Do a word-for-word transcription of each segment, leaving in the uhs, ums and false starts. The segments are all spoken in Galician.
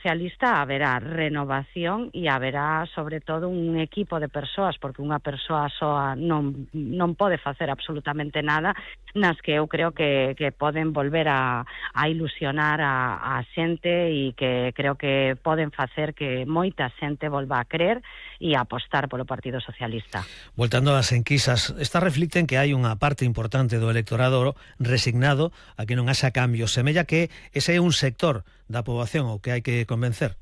Socialista haberá renovación e haberá, sobre todo, un equipo de persoas, porque unha persoa soa non, non pode facer absolutamente nada, nas que eu creo que, que poden volver a, a ilusionar a, a xente e que creo que poden facer que moita xente volva a crer e a apostar polo Partido Socialista. Voltando ás enquisas, esta reflicten que hai unha parte importante do electorado resignado a que non haxa cambios. Semella que ese é un sector da poboación o que hai que convencer.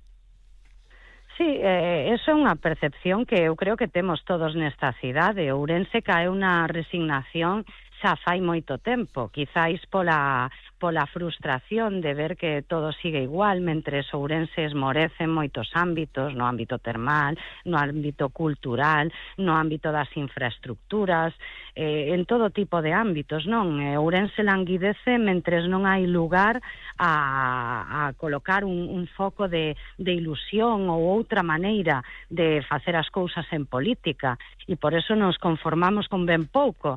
Sí, eh, eso é unha percepción que eu creo que temos todos nesta cidade. Ourense cae unha resignación xa fai moito tempo, quizáis pola, pola frustración de ver que todo sigue igual, mentre Ourense esmorece en moitos ámbitos, no ámbito termal, no ámbito cultural, no ámbito das infraestructuras, eh, en todo tipo de ámbitos, non? Ourense languidece mentres non hai lugar a, a colocar un, un foco de, de ilusión ou outra maneira de facer as cousas en política, e por eso nos conformamos con ben pouco.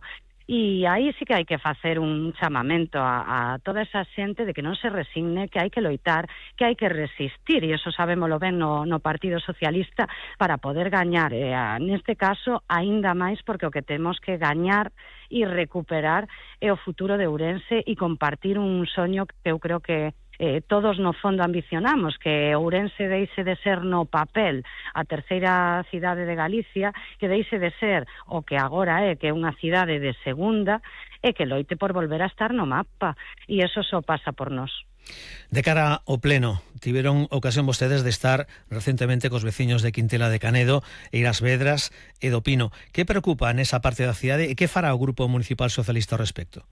E aí sí que hai que facer un chamamento a, a toda esa xente de que non se resigne, que hai que loitar, que hai que resistir, e eso sabémolo ben no, no Partido Socialista, para poder gañar, e a, neste caso, aínda máis, porque o que temos que gañar e recuperar é o futuro de Ourense e compartir un soño que eu creo que Eh, todos no fondo ambicionamos, que Ourense deixe de ser no papel a terceira cidade de Galicia, que deixe de ser o que agora é, que é unha cidade de segunda, e que loite por volver a estar no mapa, e eso só pasa por nós. De cara ao pleno, tiveron ocasión vostedes de estar recentemente cos veciños de Quintela de Canedo, Eiras Vedras e do Pino. Que preocupa nesa parte da cidade e que fará o Grupo Municipal Socialista ao respecto?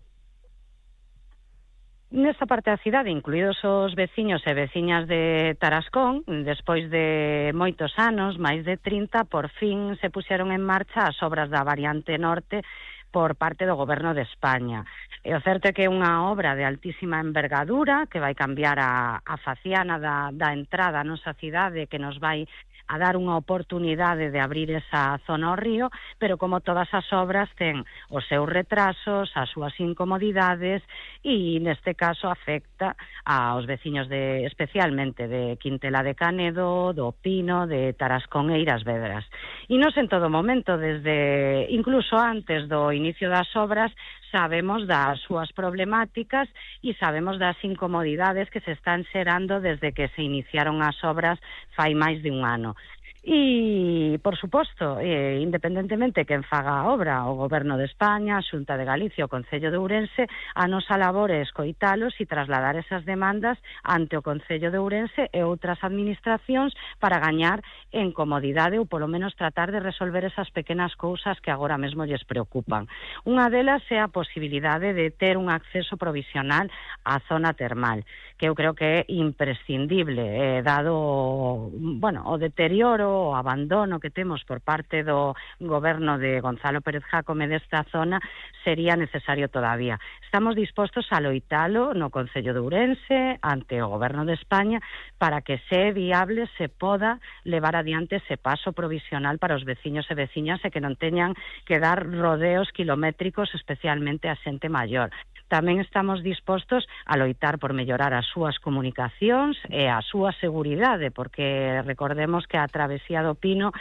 Nesta parte da cidade, incluídos os veciños e veciñas de Tarascón, despois de moitos anos, máis de trinta, por fin se puxeron en marcha as obras da variante norte por parte do Goberno de España. E o certo é que é unha obra de altísima envergadura que vai cambiar a, a faciana da, da entrada á nosa cidade, que nos vai a dar unha oportunidade de abrir esa zona ao río, pero como todas as obras ten os seus retrasos, as súas incomodidades, e neste caso afecta aos veciños de, especialmente de Quintela de Canedo, do Pino, de Tarascón e Eiras Vedras. E nos en todo momento, desde incluso antes do inicio das obras, sabemos das súas problemáticas e sabemos das incomodidades que se están xerando desde que se iniciaron as obras fai máis de un ano. E, por suposto, eh, independentemente quen faga a obra, o Goberno de España, a Xunta de Galicia, o Concello de Ourense, a nosa labor é escoitalos e trasladar esas demandas ante o Concello de Ourense e outras administracións para gañar en comodidade ou polo menos tratar de resolver esas pequenas cousas que agora mesmo lles preocupan. Unha delas é a posibilidade de ter un acceso provisional á zona termal, que eu creo que é imprescindible, eh, dado bueno, o deterioro, o abandono que temos por parte do goberno de Gonzalo Pérez Jácome desta zona, sería necesario todavía. Estamos dispostos a loitalo no Concello de Ourense, ante o Goberno de España, para que se viable se poda levar adiante ese paso provisional para os veciños e veciñas e que non teñan que dar rodeos kilométricos, especialmente a xente maior. Tamén estamos dispostos a loitar por mellorar as súas comunicacións e a súa seguridade, porque recordemos que a travesía do Pino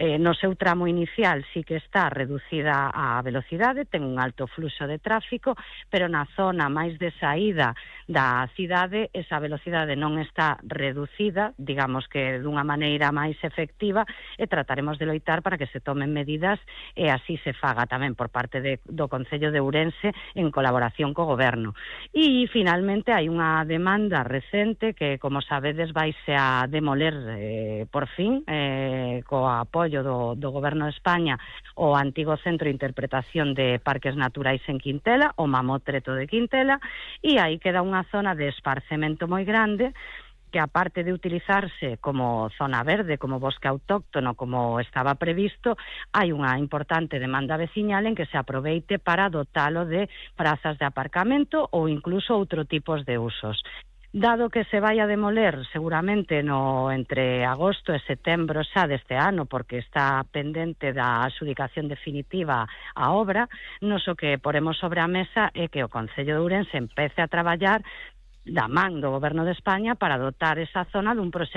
eh, no seu tramo inicial sí que está reducida a velocidade, ten un alto fluxo de tráfico, pero na zona máis de saída da cidade esa velocidade non está reducida, digamos que dunha maneira máis efectiva, e trataremos de loitar para que se tomen medidas e así se faga tamén por parte de, do Concello de Ourense en colaboración co Goberno. E finalmente hai unha demanda recente que, como sabedes, vaise a demoler eh, por fin eh, co apoio do, do Goberno de España o antigo Centro de Interpretación de Parques Naturais en Quintela, o Mamotreto de Quintela, e aí queda unha zona de esparcemento moi grande que, aparte de utilizarse como zona verde, como bosque autóctono, como estaba previsto, hai unha importante demanda veciñal en que se aproveite para dotalo de prazas de aparcamento ou incluso outro tipos de usos. Dado que se vai a demoler seguramente no entre agosto e setembro xa deste ano, porque está pendente da adxudicación definitiva a obra, nos o que poremos sobre a mesa é que o Concello de Ourense empece a traballar da man do Goberno de España para dotar esa zona dun proxecto